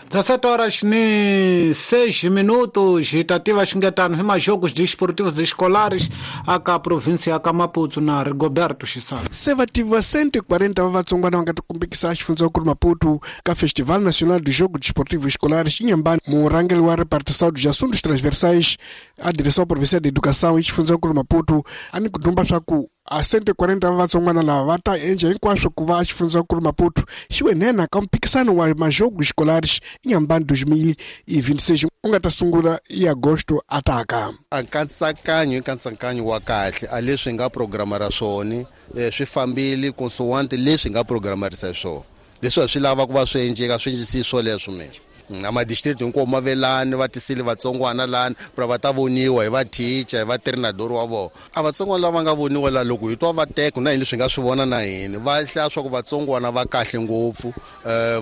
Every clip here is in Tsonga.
17 horas ni 6 minutos hi ta tiva xingetano hi majogos desportivos escolares aka província ya ka Maputo na Rigoberto Xisana. Se va tiva 140 va vatsongwana va nga ta kumbekisa xifundzankulu Maputo ka Festival Nacional do Jogo Desportivo Escolares Inhambane. Murhangeri wa repartição dos assuntos transversais a direção provincial de educação e xifundzankulu Maputo a ni ku dumba swa ku a 140 va vatsongwana lava va ta endla hinkwaswo ku va xifundzankulu Maputo xi we nhenha ka mphikisano wa majogo escolares Inhambane 2026 u nga ta sungula hi agosto ataka. A nkatsakanyo i nkatsakanyo wa kahle a leswi nga programara swona swi fambile consoante leswi nga programarisa swona leswi a swi lava ku va swi endleka swi endlisi swoleswo mina a madistrict hinkwawo ma ve lani va tisile vatsongwana lani pra va ta voniwa hi va teacher hi va treinador wa vona a vatsongwana lava nga voniwa la loko hi twa va teka na hini leswi hi nga swi vona na hini va hlaya swa ku vatsongwana va kahle ngopfu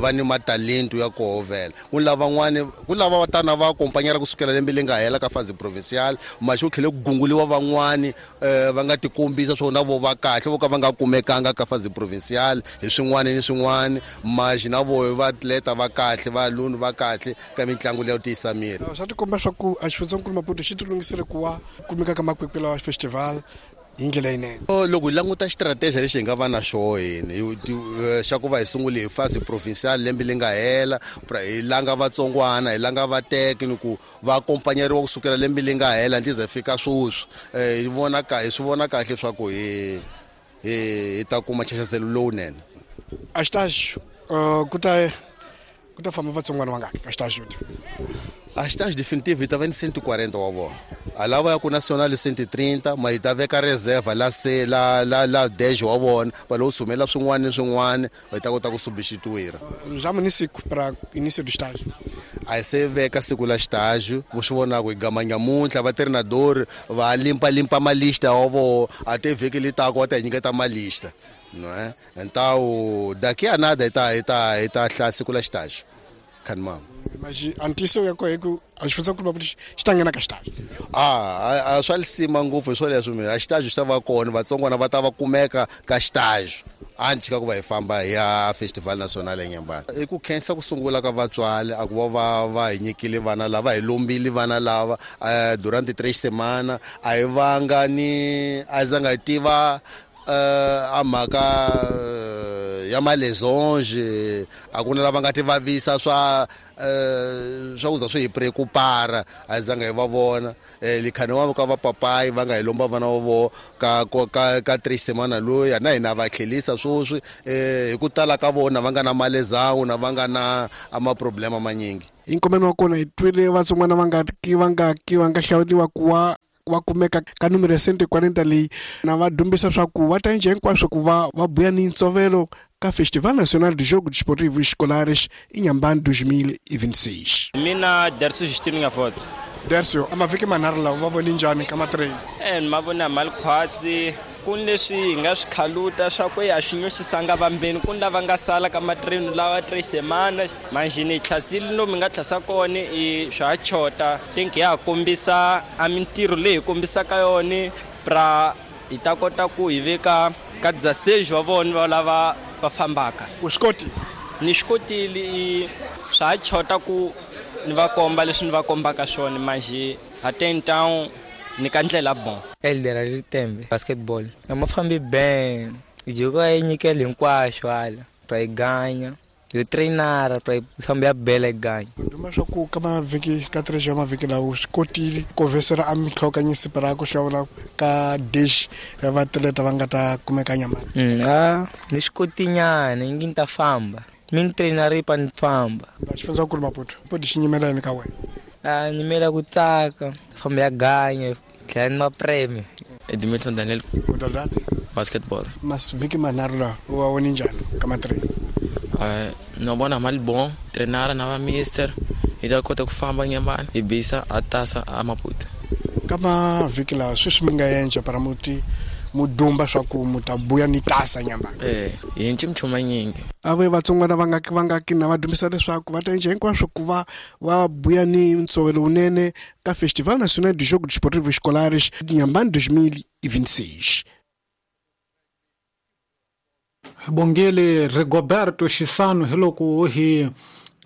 va ni matalento ya koho vhela ku lavan'wani ku lava va tana va akompanyela kusukela lembe leri nga hela ka fazi provincial maxi ku tlhele ku gunguliwa van'wani va nga tikombisa swo na vo va kahle vo ka va nga kumekanga ka fazi provincial hi swin'wana ni swin'wana maxi na vo va atleta va kahle va luni va kahle ka mitlangu leyo tiyisa miri. Swa tikomba swa ku a xifundzankulu Maputo xi tilunghisele ku wa kumeka ka makwekwe lawa festival hi ndlela yinene. Loko hi languta xitrateji lexi hi nga va na xoho hini xa ku va hi sungule hi fasi provincial lembe leri nga hela hi langa vatsongwana hi langa vateki ni ku va akompanyeriwa kusukela lembe leri nga hela ndzi ze fika sweswi hi vona hi swi vona kahle swa ku hi hi ta kuma nxaxaselo lowunene. A xitaxi ku ta famba vatsongwana vangaki ka xitaxi? A xitaxi definitive hi ta va ni 140 wa vona a lava ya ku national 130 ma hi ta veka reserve la se la la la dash wa vona va lo sumela swin'wana ni swin'wana va ta kota ku substituir. Já ni siku para início do estágio a hi se veka siku la xitaxo ku swi vonaka hi gama nyamuntlha va treinador va limpalimpa malista wa vona a te vhiki li taka va ta hi nyiketa malista no é então daqui a nada hi ta hlaya siku la xitaxo khanimama. Mas antiso ya kohe ku a xifundzankulu Maputo xi ta nghena ka xitaxo. A swa lisima ngopfu hi swoleswo mina a xitaxo xi ta va kona vatsongwana va ta va kumeka ka xitaxo a ni tshika ku va hi famba hi ya Festival Nacional eNyambana. I ku khensa ku sungula ka vatswari a ku va va hi nyikile vana lava hi lombile vana lava durante 3 semana a hi vanga ni a zanga hi tiva a mhaka ya malesonge a ku na lava nga ti vavisa swa swa ku za swi hi preocupara a zanga hi va vona likhani wa ka va papayi va nga hi lomba vana va vo ka ka ka 3 semana loyi na hina va tlhelisa sweswi hi ku tala ka vona va nga na malezawu na va nga na ama problema manyingi. Hi nkomeno wa kona hi twile vatsongwana va nga hlawuriwa ku wa va kumeka ka numero ya 140 leyi na va dumbisa swa ku va ta endla hinkwaswo ku va va buya ni ntsovelo ka Festival Nacional de Jogo Desportivo Escolares Inhambane 2026. Mina Dercio Justino Ngafotse. Dercio, a mavhiki manharhu lawa va voni njhani ka matrain? Ma vona malikhwatsi ku ni leswi hi nga swi khaluta swa ku ya swi nyoxisanga vambeni ku ni lava nga sala ka matrain lawa 3 semana manjhini hi tlhasile lomu hi nga tlhasa kona i swa ha chota tinki ya ha kombisa a mintirho leyi hi kombisaka yona pra hi ta kota ku hi veka ka 16 wa vona va lava va fambaka. U swi kotile? Ni swi kotile swa ha chota ku ni va komba leswi ni va kombaka swona manjhe até então ni ka ndlela bon. Elder Ritembe basketball a ma fambi ben joko a yi nyikela hinkwaswo hala pra yi ganya yo trainara pra yi famba ya bela yi ganya. Duma swa ku ka mavhiki ka 3 ya mavhiki lawa swi kotile ku vesela a mitlhokanyisi pra ku hlawula ka dish ya vatleta va nga ta kumeka Nyambane. Ni swi kotinyana ingi ni ta famba mi ni trainara pa ni famba. Xifundzankulu Maputo po di xi nyimela yini ka wena? A nyimela ku tsaka famba ya ganya tlhela ni mapreme. Edmilson Daniel. Modalidade? Basketball. Mas vhiki manharhu lawa u wa voni njhani ka matrain? No vona mali bon trainara na va mister hi ta kota ku famba Nyambane hi bisa a tasa a Maputo. Ka mavhiki lawa sweswi mi nga endla para muti mudumba swa ku mu ta buya ni tasa Nyambane. Hi nchumu nyingi. A ve vatsongwana va nga kina va dumbisa leswaku va ta endla hinkwaswo ku va va buya ni ntsovelo wunene ka Festival Nacional de Jogo Desportivo Escolares Inhambane 2026. Bongele Rigoberto Xisano hi loko hi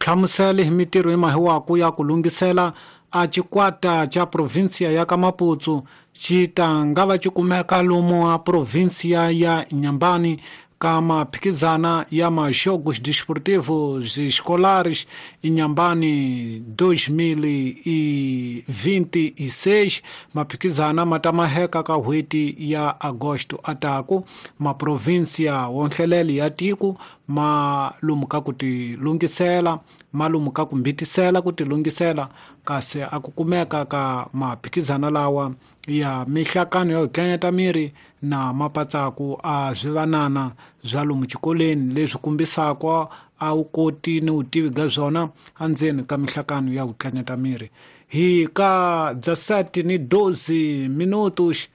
Hlamusele hi mitirho yi mahiwaku ya ku lunghisela a xikwata xa provinsia ya ka Maputo xi ta nga va xi kumeka lomu a provinsia ya Inhambane ka maphikizana ya ma-Jogos Desportivos Escolares Inhambane 2026. Maphikizana ma ta maheka ka n'hweti ya Agosto ataku maprovinsia wonhlelele ya tiko ma lomu ka ku ti lunghisela, ma lomu ka ku mbitisela ku ti lunghisela, kasi a ku kumeka ka maphikizana lawa ya mihlakano ya ku tlanyata miri na mapatsaku a swivanana swa lomu xikolweni leswi kombisaka a wu koti ni vutivi bya swona endzeni ka mihlakano ya ku tlanyata miri. Hi ka 17:12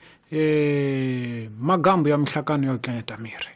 magambo ya mihlakano ya ku tlanyata miri.